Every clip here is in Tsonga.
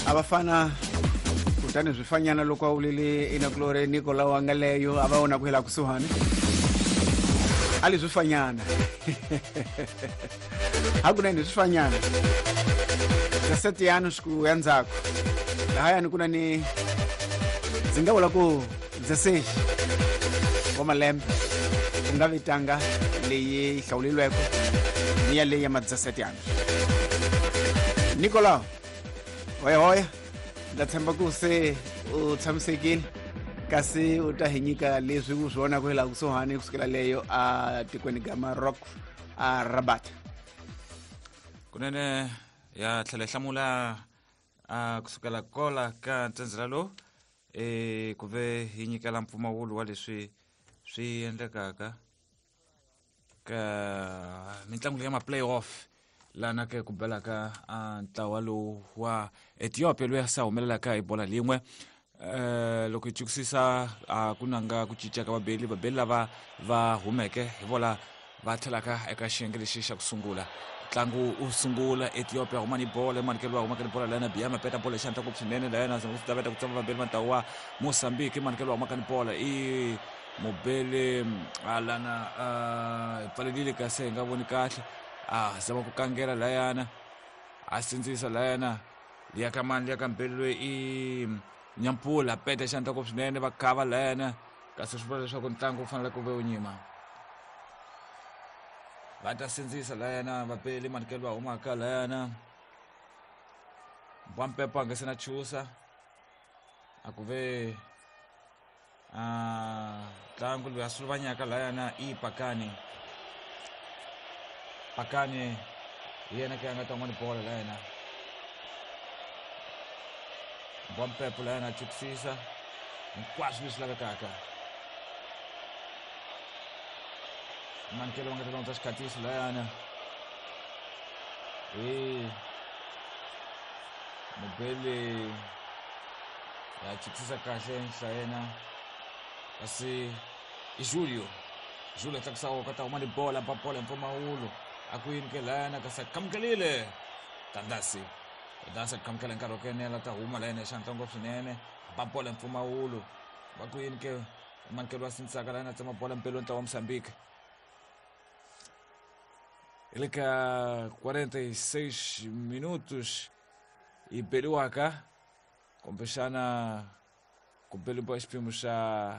A va fana kutani swifanyana loko a wulile inakulore Nicolau a nga leyo a va vona ku hela kusuhani a li swifanyana hakunene swifanyana kasete yanu swi ya ndzhaku lahayani ku na ni ndzi nga vula ku 16 wa malembe ku nga vitanga leyi hlawulilweko ni ya leyi ya ma 17 anos. Nicolau hoyahoya, ndza tshemba ku se u tshamisekile kasi u ta hi nyika leswi u swi vonaka hi laha kusuhani kusukela leyo a tikweni ga Maroc a Rabat. Kunene ya tlhela yi hlamula a kusukela kola ka ntsendzela lowu e ku ve hi nyikela mpfumawulo wa leswi swi endlekaka ka mitlangu ya ma-playoff lana ke ku belaka a ntlawa lowu wa Ethiopia loyi a sa humelelaka hi bola lin'we. Loko hi chukisisa a ku nanga ku cinca ka vabeli, vabeli lava va humeke hi vola va tlhelaka eka xiyenge lexi xa ku sungula. Ntlangu u sungula, Ethiopia huma ni bola, emanikelo wa humaka ni bola layana Biama peta bola xandla ngopfu swinene layana zama ku taveta ku tsama vabeli va ntlawa wa Mozambique, emanikelo wa humaka ni bola i mubeli alana hi pfalelile kasi hi nga voni kahle, a zama ku kangela layana a sindzisa layana liya ka mani liya ka mbeli loyi i Nyampula peta xandla ngopfu swinene va khava layana kasi swi vula leswaku ntlangu wu fanele ku ve wu nyima. Va ta sindzisa layana vabeli manikelo va humaka layana Mbwampepo a nga se na chusa a ku ve ntlangu loyi a suluvanyaka layana i Pakani. Pakani hi yena ke a nga ta n'wana bola layana Mbwampepo layana a chukisisa hinkwaswo leswi lavekaka. Mankelo va nga ta londza xikhatiso layana hi mubeli ya chukisisa kahle nhla yena kasi i Julio. Julio tlakusa ka ta huma ni bola ba bola mpfumawulo a ku yini ke layana kasi a kamukelile Tandasi. Tandasi a kamukela nkarhi wa ku enela ta huma layana xandla ngopfu swinene ba bola mpfumawulo va ku yini ke mankelo wa sindzisaka layana tsema bola mpelo ntlawa wa Mozambique. Hi le ka 46 minutos yi beliwaka kumbexana ku beliwa xiphemu xa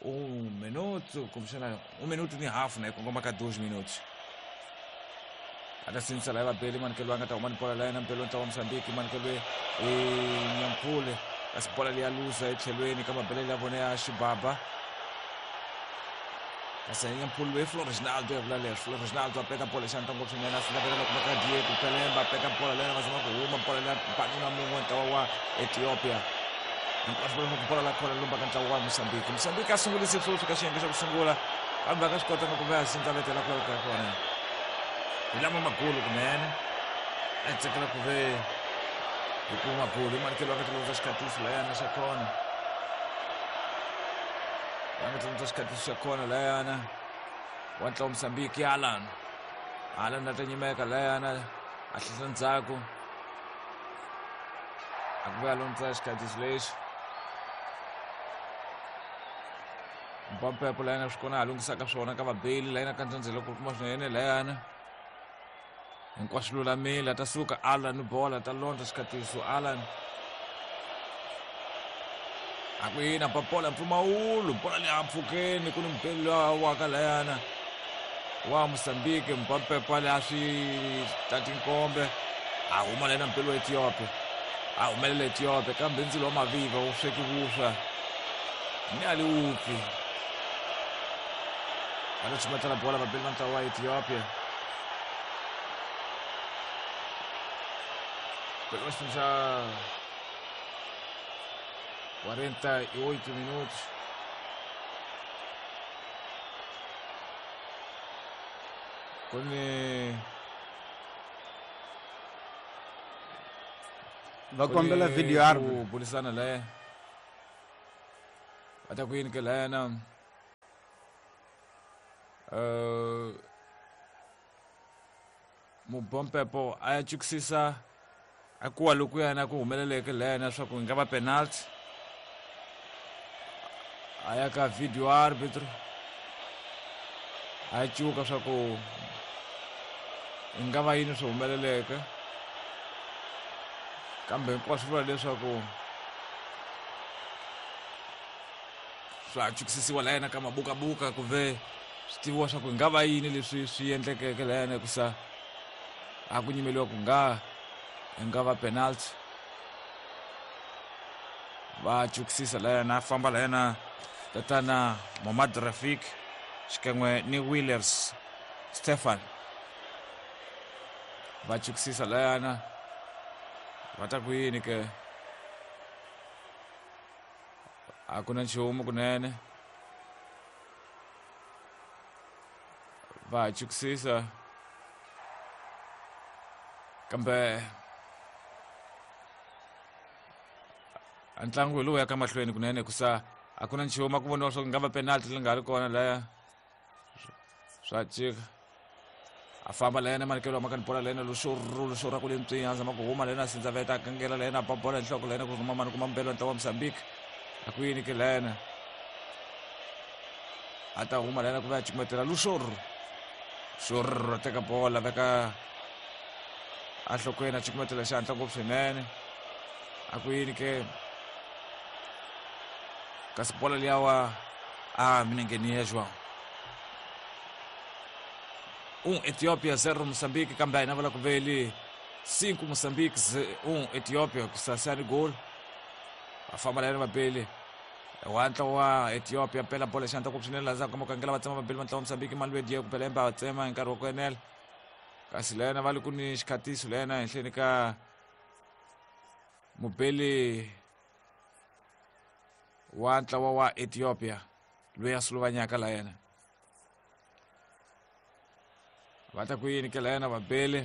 1 minuto kumbexana 1 minuto ni hafu na yi kongoma ka 2 minutos. A ta sindzisa laha vabeli manikelo a nga ta huma ni bola la yena mpelo ntlawa wa Mozambique manikelo i Nyampule kasi bola leyi ya luza etlhelweni ka mabelelo ya vona ya xibaba kasi Nyampule loyi Flo Reginaldo ya vula leswi. Flo Reginaldo a peta bola xandla ngopfu swinene a sindza vela kuma ka Diego Kalemba a peta bola leyi va zama ku huma bola leyi banuna mun'we ntlawa wa Ethiopia hinkwaswo va bola la khona lumba ka ntlawa wa Mozambique. Mozambique a sungulise sweswi ka xiyenge xa ku sungula kambe a nga swi kotanga ku va sindza vetela ku laveka kona hi lama magulu kunene a tsakela ku ve hi kuma magulu i manikelo va nga tilondza xikhatiso layana xa kona va nga tilondza xikhatiso xa kona layana wa ntlawa Mozambique Alan. Alan a ta nyimeka layana a hlehla ndzhaku a ku ve a londza xikhatiso lexi Mpampepo layana swi kona a lunghisaka swona ka vabeli layana ka ndzondzelo ku kuma swinene layana hinkwaswo lulamile a ta suka Alan bola ta londza xikhatiso Alan a ku yina ba bola mpfumawulo bola leyi a mpfhukeni ku ni mubeli loyi waka layana wa Mozambique Mpampepo leyi a swi tati nkombe a huma layana mubeli wa Ethiopia a humelela Ethiopia kambe ndzilo wa maviva wu sweki vuswa ni a li wupfi va ta chumatela bola vabeli va ntlawa wa Ethiopia pegou xa 48 minutos ku ni va kombela video ku burisana laya va ta ku yini ke layana Mubompepo a ya chukisisa A kuwa lokuyana ku humeleleke layana swa ku yi nga va penalty. A ya ka video arbitro a cuka swa ku yi nga va yini swi humeleleke, kambe hinkwaswo vula leswaku swa chukisisiwa layena ka mabukabuka ku ve swi tiviwa swa ku yi nga va yini leswi swi endlekeke layena, hikusa a ku nyimeliwa ku nga yi nga va penalty. Va chukisisa layena, a famba layena tatana Momad Rafik xikan'we ni Willers Stefan, va chukisisa layana. Va ta ku yini ke? A ku na nchumu kunene, va chukisisa, kambe ntlangu hi lowu ya ka mahlweni kunene, kusa a ku na nchumu. A ku voniwa swa ku nga va penalty leyi nga ri kona laya, swa cika. A famba layena manikelo wa makani bola layena luxurhu ra ku le ntswinya, a zama ku huma layena, sindza veta, a kangela layena, a ba bola hi nhloko layena, ku rhuma mani kuma mbelo ntlawa wa Mozambique. A ku yini ke layena? A ta huma layena ku va ya cukumetela luxurhu xurhu, a teka bola, veka enhlokweni, a cukumetela xihatla ngopfu swinene. A ku yini ke? Kasi bola liyawa a minengeni ya João. 1 Etiópia 0 Moçambique, kambe a hina vula ku veli 5 Moçambique 1 Etiópia, kusasani gol. Va famba layani vabeli wa ntlawa wa Ethiopia, pela bola xandla ku swinene laha ka makangela, va tsema vabeli va ntlawa wa Mozambique, mali Diego Belemba va tsema hi nkarhi wa ku enela. Kasi layena va le ku ni xikhatiso layena henhleni ka mubeli wa ntlawa wa Ethiopia loyi a suluvanyaka la yena. Va ta ku yini ke la yena vabeli?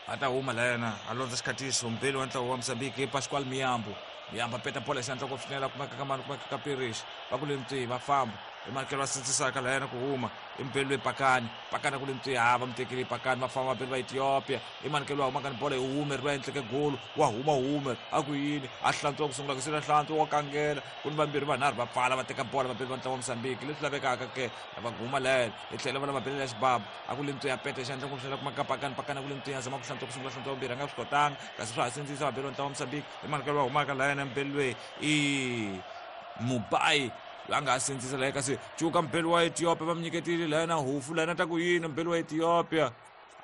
A ta huma la yena, a londza xikhatiso mubeli wa ntlawa wa Mozambique Pascual Miyambo. Miyambo a peta bola xandla ngopfu swinene, a kumeka ka mani, kumeka ka Pirish, va ku le ntswi, va famba i manikelo va sindzisaka la yena ku huma i mubeli loyi Pakani. Pakani a ku le ntswi, ha va mu tekile Pakani, va famba vabeli va Ethiopia. I manikelo wa humaka ni bola, yi hume ri va endleke golo, wa huma hume. A ku yini? A hlantswiwa ku sungula ku sila hlantswa, wa kangela ku ni vambirhi vanharhu va pfala, va teka bola vabeli va ntlawa wa Mozambique. Leswi lavekaka ke va huma layena hi tlhela va lava belela xibabu. A ku le ntswi, ya peta xandla ngopfu swinene, kuma ka Pakani. Pakani a ku le ntswi, ya zama ku hlantswa ku sungula, hlantswa vambirhi, a nga swi kotanga, kasi swa ha sindzisa vabeli va ntlawa wa Mozambique. I manikelo wa humaka layena mubeli loyi i Mubai loyi a nga ha sindzisa laye, kasi cuka mubeli wa Ethiopia va mu nyiketile layena hufu layena. Ta ku yini mubeli wa Ethiopia?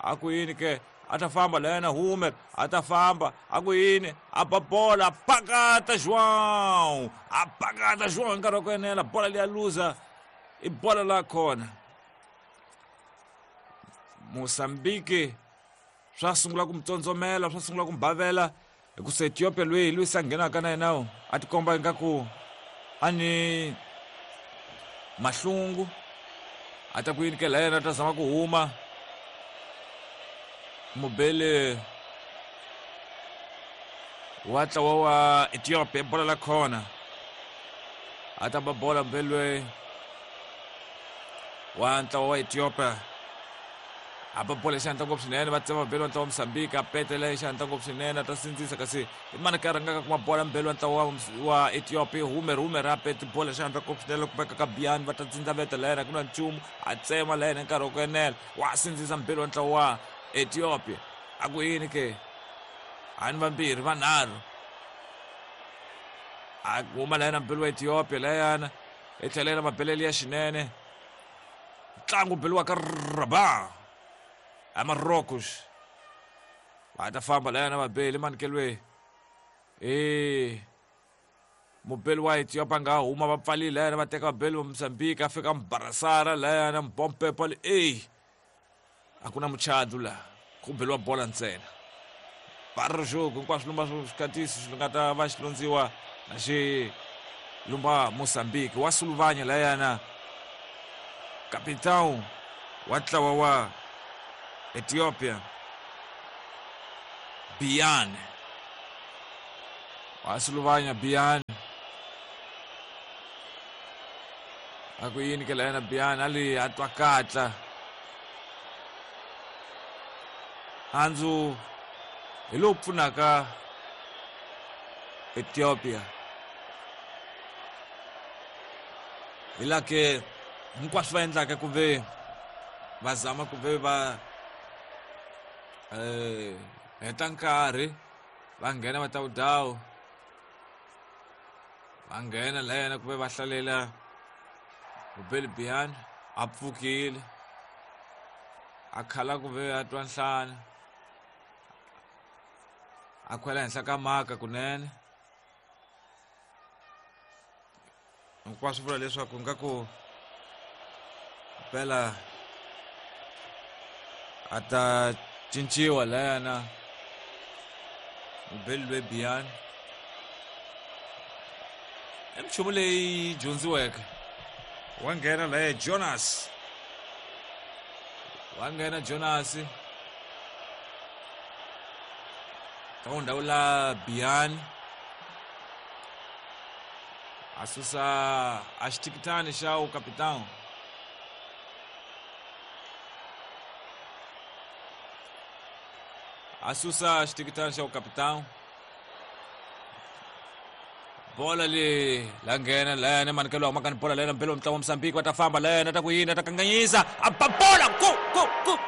A ku yini ke? A ta famba layena Humer, a ta famba. A ku yini? A ba bola, pakata João, a pakata João hi nkarhi wa ku enela, bola leya luza, i bola la kona Mozambique. Swa sungula ku mu tsondzomela, swa sungula ku mu bavela, hikusa Ethiopia loyi loyi se a nghenaka na yena a tikomba ingaku a ni mahlungu. A ta ku yini ke la yena? Ta zama ku huma mubeli wa ntlawa wa Ethiopia, bola la khona. A ta ba bola mubeli loyi wa ntlawa wa Ethiopia, a ba bola xandla ngopfu swinene, va tsema mubeli wa ntlawa wa Mozambique, a petela xandla ngopfu swinene, a ta sindzisa, kasi i mani ka rhangaka kuma bola? Mubeli wa ntlawa wa Ethiopia Humer. Humer a pete bola xandla ngopfu swinene, kumeka ka Bian, va ta dzindza veta la yena, ku na nchumu, a tsema la yena nkarhi wa ku enela, wa sindzisa mubeli wa ntlawa wa Ethiopia. A ku yini ke? Hani vambirhi vanharhu, a huma la yena mubeli wa Ethiopia layana, i tlhela yena mabelele ya xinene. Ntlangu beliwa ka Rabat a Marocos, va ta famba layana vabeli manikelwe e mubeli wa Ethiopia nga huma, va pfalile layana, va teka vabeli va Mozambique, a fika Mbarasara layana Mbompepa li ey, a ku na muchadu la, ku beliwa bola ntsena barjogo hinkwaswo lumba swikatisi swi nga ta va xi londziwa na xi lumba Mozambique. Wa suluvanya layana capitão wa ntlawa wa Ethiopia Bian, wa suluvanya Bian. A ku yini ke layana Bian? A li a twa katla. Handzu hi lowu pfunaka Ethiopia. Hi la ke hinkwaswo va endlaka ku ve va zama ku ve va heta nkarhi va nghena va tawudawu va nghena la yena ku ve va hlalela Mubeli Bian a pfukile a khala ku ve a twa nhlana a khwela henhla ka maka kunene hinkwaswo vula leswaku nga ku mpela a ta cinciwa layana mubeli loyi biyani i minchumu leyi dyondziweke. Wa nghena laye Jonas, wa nghena Jonas ka n'wi ndhawu la biyani a susa a xitikitani xa ukapitão. A susa xitikitani xa ukapitão. Bola le la nghena layana manikelo wa makani bola layana mbelo mutlangi wa Mozambique va ta famba layana ta ku yini ta kanganyisa a ba bola go go go.